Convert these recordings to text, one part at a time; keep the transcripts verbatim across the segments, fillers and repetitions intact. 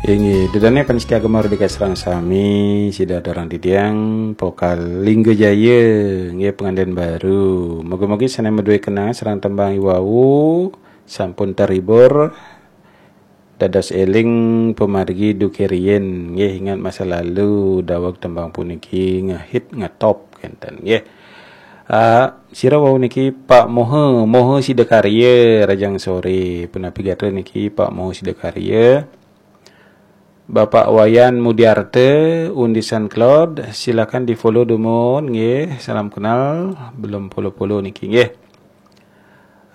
Inggih, dedane panitia gemar dika sareng sami, sida dorang didiang, pokal Lingga Jaya, nggih, Pengantin Baru. Moga-moga sané madué kenangan sareng tembang iwau, sampun terhibur, dados eling pamargi duké riyin, nggih, ingat masa lalu, daweg tembang puniki ngehit ngetop, kénten, nggih. Ah, sira wau niki Pak Moha, Moha Sidakarya, Rajang Sore, punapi gatra niki Pak Moha Sidakarya. Bapak Wayan Mudiarte, Undisan Cloud, silakan di-follow dumun, nggih. Salam kenal, belum follow-follow niki, nggih.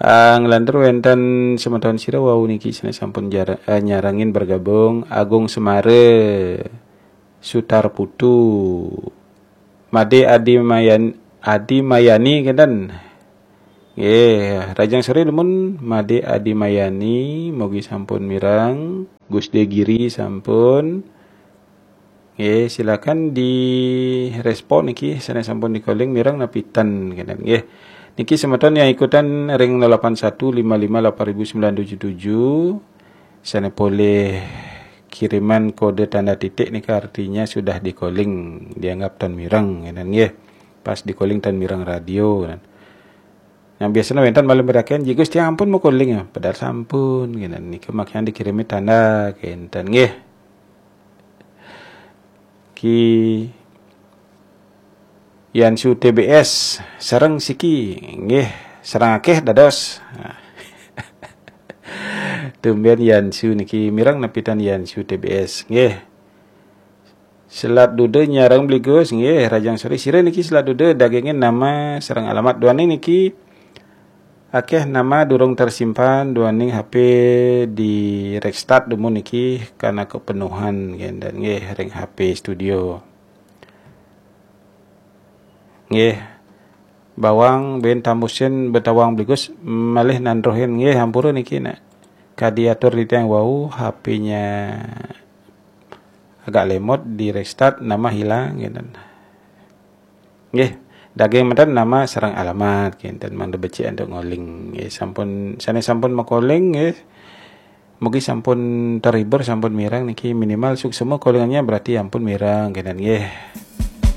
Ah, nglantur wénten semeton sira wau niki sané sampun jara-, eh, nyarengin bergabung, Agung Semara, Sutar Putu, Made Adi Mayan-, Adi Mayani kénten. Nggih, Rajang Sore dumun Made Adi Mayani, mugi sampun mireng, Gus De Giri sampun. Nggih, silakan di-respon niki, sané sampun di-calling mireng napi ten, kénten, nggih. Niki semeton yang ikutan ring nol delapan satu lima lima delapan ribu sembilan tujuh tujuh, sané polih kiriman kode tanda titik nika artinya sudah di-calling, dianggap ten mireng, kénten, nggih. Pas di-calling ten mireng radio, kénten. Yang biasanya wénten malih meraken, "Jigus tiang ampun mau calling ya," padahal sampun, kénten. Nika makanya dikirimi tanda, kénten, nggih. Ki Yansu T B S, sareng siki, nggih, sareng akéh dados. Nah. Tumben Yansu niki mireng napi ten Yansu T B S, nggih. Selat duda nyareng Bli Gus, nggih, Rajang Sore. Sira niki selat duda dagingin nama sareng alamat duaning niki akéh nama durung tersimpan, duaning H P di restart dumun niki karena kepenuhan, nggih, dan nggih, ring H P studio. Nggih. Bawang bin Tambusin Betawang Bli Gus malih nandruhin, nggih, hampura niki nak. Kadi atur titiang wau, H P-nya agak lemot, di restart nama hilang, kénten. Nggih, daging manten nama sareng alamat, kénten, mangda becik antuk ngoling. Nggih, sampun, sané sampun makoling, nggih. Mugi sampun terhibur, sampun mireng niki, minimal suksema kolingannya berarti ampun mireng, kénten, nggih.